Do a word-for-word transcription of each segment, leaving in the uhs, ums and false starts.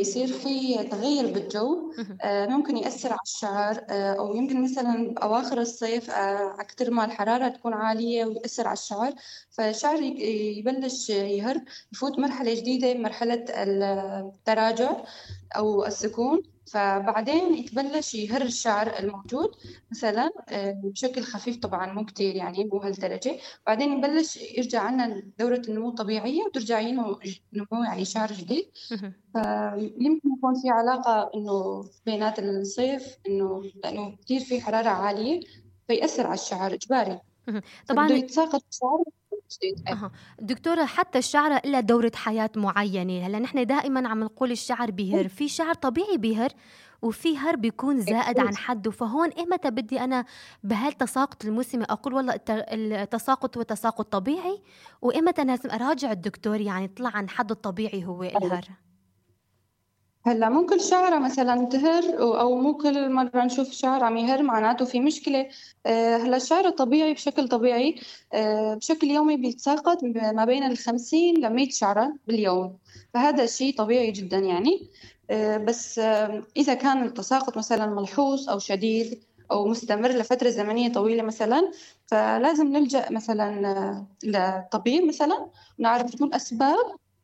يصير في تغيُّر بالجو اهم. آآ ممكن يأثّر على الشعر آآ أو يمكن مثلًا بأواخر الصيف آآ أكتر ما الحرارة تكون عالية ويأثّر على الشعر، فالشعر ي يبلّش يهِر، يفوت مرحلة جديدة مرحلة ال التراجع أو السكون، فبعدين يتبلّش يهِر الشعر الموجود مثلًا آآ بشكل خفيف طبعًا مو كتير يعني مو هالدرجة، بعدين يبلّش يرجع عنا دورة النمو الطبيعية وترجع ينمو ج نمو يعني شعر جديد. اهم. فيمكن يكون في علاقة إنه بينات الصيف إنه لإنه كتير في حرارة عالية فيأثّر على الشعر إجباري، اهم. فبده طبعًا يتساقط الشعر جديد إيه. أها. دكتورة حتى الشعرة إلها دورة حياة معيّنة، هلّأ نحن دائمًا عم نقول الشعر بيهِر، في شعر طبيعي بيهِر وفي هَر بيكون زائد أكيد. عن حدّه، فهون إمتى بدي أنا بهالتساقط الموسمي أقول والله الت التساقط هو تساقط طبيعي، وإمتى لازم أراجع الدكتور يعني طلع عن حدّه الطبيعي هو أيوه. الهَر؟ هلّأ مو كل شعرة مثلًا تهِر و أو مو كل مرّة نشوف شعر عم يهِر معناته في مشكلة. آآ هلّأ الشعر الطبيعي بشكل طبيعي آآ بشكل يومي بيتساقط ب ما بين الخمسين لمية شعرة باليوم، فهذا شي طبيعي جدًا يعني. آآ بس آمم إذا كان التساقط مثلًا ملحوظ أو شديد أو مستمر لفترة زمنية طويلة مثلًا، فلازم نلجأ مثلًا آه، لطبيب مثلًا نعرف شو الأسباب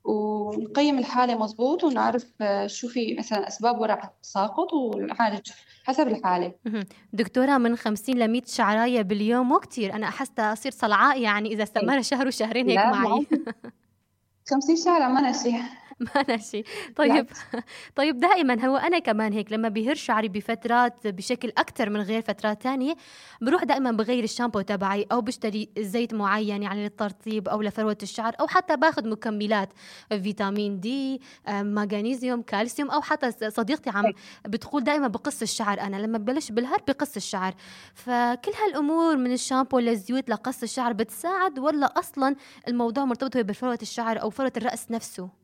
ونقيّم الحالة مضبوط ونعرف آه، شو في مثلًا أسباب وراء التساقط ونعالج حسب الحالة. اهم. دكتورة من خمسين لمية شعراية باليوم مو كتير، أنا حاسّة أصير صلعاء يعني إذا إيه. استمر شهر وشهرين هيك لا معي. بالعكس خمسين شعرة مَنا شي ما شي. طيب بالعكس. طيب دائمًا هو أنا كمان هيك لمّا بيهِر شعري بفترات بشكل أكتر من غير فترات تانية، باروح دائمًا باغيّر الشامبو تبعي أو باشتري زيت معيّن يعني للترطيب أو لفروة الشعر أو حتى باخُد مكملات فيتامين دي، آآ ماغنيسيوم، كالسيوم أو حتى ص صديقتي عم إيه. بتقول دايمًا بقِص الشعر أنا، لمّا ببلش بالهَر بقِص الشعر، فكل هالأمور من الشامبو للزيوت لقَص الشعر بتساعد والّا أصلًا الموضوع مرتبط هو بفروة الشعر أو فروة الرأس نفسه؟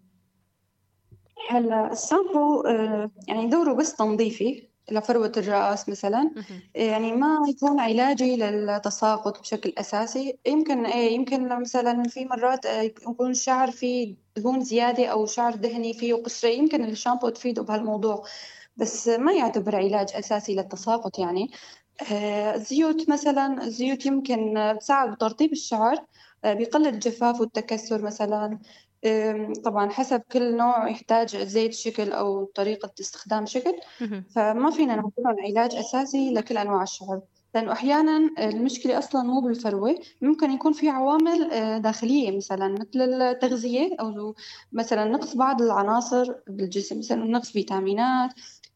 هلّأ الشامبو آآ يعني دوره بس تنظيفي لفروة الرأس مثلًا، اهم. يعني ما يكون علاجي للتساقط بشكل أساسي. يمكن إيه، يمكن مثلًا في مرات آآ يكون الشعر فيه دهون زيادة أو شعر دهني فيه قشرة، يمكن الشامبو تفيده بهالموضوع، بس ما يعتبر علاج أساسي للتساقط يعني. آآ الزيوت مثلًا، الزيوت يمكن آه، تساعد بترطيب الشعر، آآ بيقلل الجفاف والتكسُّر مثلًا. آمم طبعًا حسب كل نوع يحتاج زيت شكل أو طريقة استخدام شكل، اهم. فما فينا نعتبرهم علاج أساسي لكل أنواع الشعر، لإنه أحيانًا المشكلة أصلًا مو بالفروة، ممكن يكون في عوامل آآ داخلية مثلًا مثل التغذية أو مثلًا نقص بعض العناصر بالجسم، مثلًا نقص فيتامينات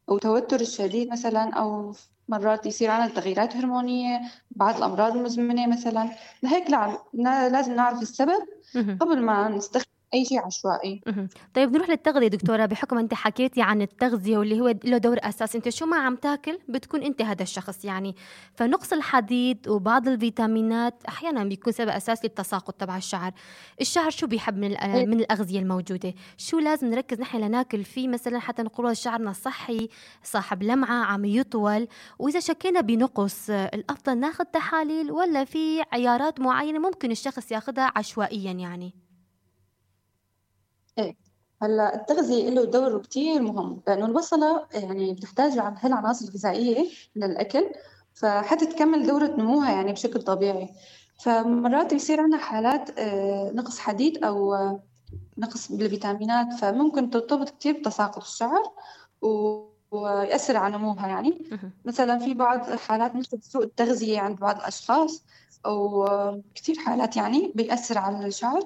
أو توتر الشديد مثلًا أو مرات يصير عندنا تغييرات هرمونية، بعض الأمراض المزمنة مثلًا، لهيك لع نا لازم نعرف السبب اهم. قبل ما نستخدم أي شي عشوائي. اهم. طيب نروح للتغذية دكتورة، بحكم أنتِ حكيتِ عن التغذية واللي هو له دور أساسي، أنتِ شو ما عم تاكل بتكون أنتِ هذا الشخص يعني، فنقص الحديد وبعض الفيتامينات أحيانًا بيكون سبب أساسي للتساقط تبع الشعر، الشعر شو بيحب من الأ إيه. من الأغذية الموجودة؟ شو لازم نركز نحن لناكل فيه مثلًا حتى نقول والله شعرنا صحي، صاحب لمعة، عم يطول، وإذا شكينا بنقص آه، الأفضل ناخد تحاليل والّا في عيارات معينة ممكن الشخص ياخدها عشوائيًا يعني؟ إيه. هلّأ التغذية إله دور كتير مهم، لإنه البصلة يعني بتحتاج ع هالعناصر الغذائية للأكل، فحتى تكمّل دورة نموها يعني بشكل طبيعي، فمرات بيصير عندنا حالات آآ نقص حديد أو آه، نقص بالفيتامينات، فممكن ترتبط كتير بتساقط الشعر و ويأثّر على نموها يعني. اهم. مثلًا في بعض الحالات نسبة سوء التغذية عند بعض الأشخاص أو آه، كتير حالات يعني بيأثّر على الشعر.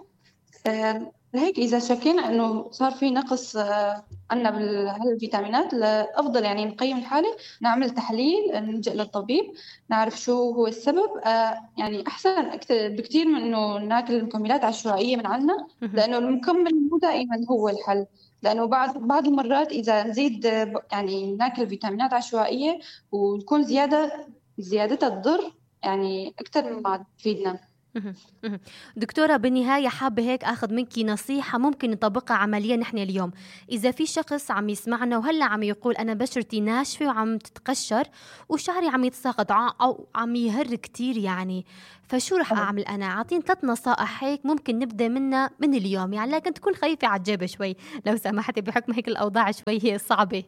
آآ لهيك إذا شكينا إنه صار في نقص آآ عندنا بال هالفيتامينات، الأفضل يعني نقيّم الحالة، نعمل تحليل، نلجأ للطبيب، نعرف شو هو السبب. آآ يعني أحسن أكت بكتير من إنه ناكل مكملات عشوائية من عندنا، اهم. لإنه المكمل مو دائمًا هو الحل، لإنه بعض بعض المرات إذا نزيد آه، ب يعني ناكل فيتامينات عشوائية وتكون زيادة زيادتها تضر يعني أكتر مما تفيدنا. مهم. مهم. دكتورة، بالنهاية حابة هيك أخذ منك نصيحة ممكن نطبقها عمليا نحن اليوم. إذا في شخص عم يسمعنا وهلا عم يقول أنا بشرتي ناشفة وعم تتقشر وشعري عم يتساقط ع- أو عم يهر كتير يعني، فشو رح أعمل أنا؟ أعطيني ثلاث نصائح هيك ممكن نبدأ منها من اليوم، يعني لكن تكون خفيفة على الجيب شوي لو سمحتي، بحكم هيك الأوضاع شوي هي صعبة.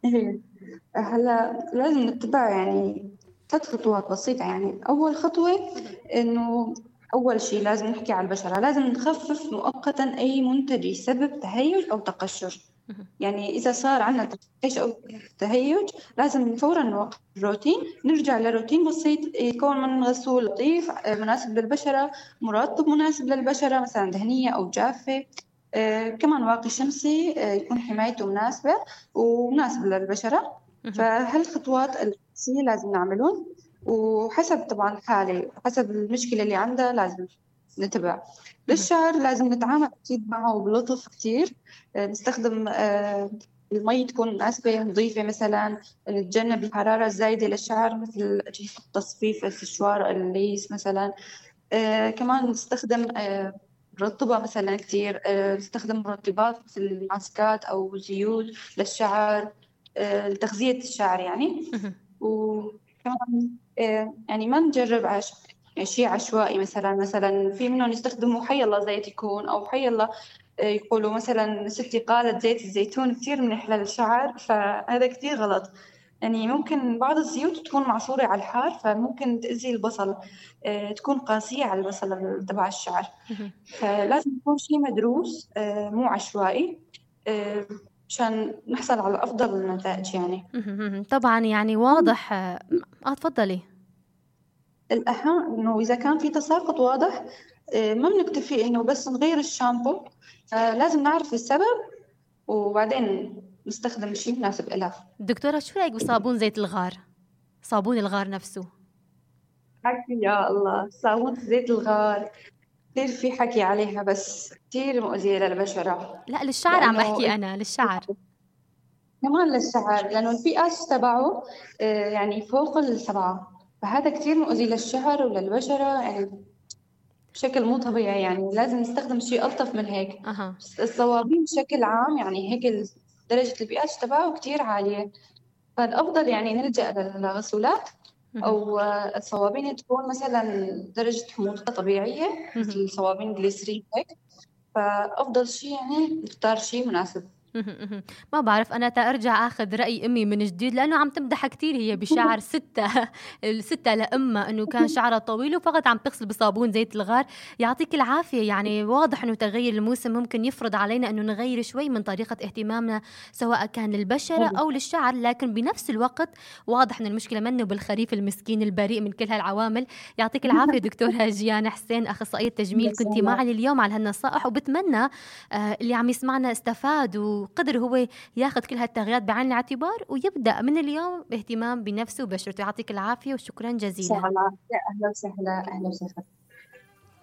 إيه. هلا لازم نتبع يعني ثلاث خطوات بسيطة. يعني أول خطوة إنه أول شيء لازم نحكي على البشرة، لازم نخفف مؤقتا أي منتج يسبب تهيج أو تقشر. مهم. يعني إذا صار عندنا تقشر أو تهيج لازم فورا نوقف الروتين، نرجع لروتين بسيط يكون من غسول لطيف آه، مناسب للبشرة، مرطب مناسب للبشرة مثلا دهنية أو جافة. آه، كمان واقي شمسي آه، يكون حمايته مناسبة ومناسب للبشرة. مهم. فهالخطوات الأساسية لازم نعملهم، وحسب طبعا الحالة حسب المشكلة اللي عندها لازم نتبع. مهم. للشعر لازم نتعامل أكيد معه بلطف كتير. آه، نستخدم آه، المي تكون مناسبة نظيفة مثلا، نتجنب الحرارة الزايدة للشعر مثل أجهزة التصفيف السشوار الليس مثلا. آه، كمان نستخدم آه، مرطبة مثلا كتير. آه، نستخدم مرطبات مثل ماسكات أو زيوت للشعر آه، لتغذية الشعر يعني. مهم. وكمان آه، يعني ما نجرب عش... يعني شيء عشوائي. مثلا مثلا في منهم يستخدموا حي الله زيت يكون أو حي الله آه، يقولوا مثلا ستي قالت زيت الزيتون كتير منيح للشعر، فهذا كتير غلط. يعني ممكن بعض الزيوت تكون معصورة على الحار فممكن تأذي البصل، آه، تكون قاسية على البصل تبع الشعر. مهم. فلازم يكون شيء مدروس آه، مو عشوائي آه، مشان نحصل على أفضل النتائج يعني. مهم. مهم. طبعا يعني واضح. اه آه، تفضلي. الأهم إنه إذا كان في تساقط واضح آه، ما بنكتفي إنه بس نغير الشامبو، آه، لازم نعرف السبب وبعدين نستخدم شيء مناسب لها. دكتورة، شو رأيك بصابون زيت الغار؟ صابون الغار نفسه. حكي يا الله، صابون زيت الغار كثير في حكي عليها بس كثير مؤذية للبشرة. لا، للشعر عم لأنه بحكي أنا، للشعر. كمان للشعر، لأنه البي اتش تبعه آه، يعني فوق السبعة، فهذا كثير مؤذي للشعر وللبشرة يعني بشكل مو طبيعي. يعني لازم نستخدم شيء ألطف من هيك. أها. الصوابين بشكل عام يعني هيك ال- درجة البي اتش تبعه كثير عالية، فالأفضل يعني نلجأ للغسولات مهم. أو آه، الصوابين تكون مثلا درجة حموضتها طبيعية مهم. مثل صوابين جليسرين هيك. فأفضل شيء يعني نختار شيء مناسب. مهم. مهم. ما بعرف أنا تأرجع أخذ رأي أمي من جديد، لأنه عم تمدح كتير هي بشعر ستة الستة لأمها أنه كان شعرها طويل وفقط عم تغسل بصابون زيت الغار. يعطيك العافية. يعني واضح أنه تغير الموسم ممكن يفرض علينا أنه نغير شوي من طريقة اهتمامنا سواء كان للبشرة أو للشعر، لكن بنفس الوقت واضح أن المشكلة منه بالخريف المسكين البريء من كل هالعوامل. يعطيك العافية دكتورة جيان حسين، أخصائية تجميل، كنتي معي اليوم على هالنصائح، وبتمنى آه، اللي عم يسمعنا استفاد وقدر هو ياخذ كل هالتغييرات بعين الاعتبار ويبدأ من اليوم باهتمام بنفسه وبشرته. يعطيك العافية وشكرا إن شاء جزيلا. الله. يا أهلا وسهلا، أهلا وسهلا.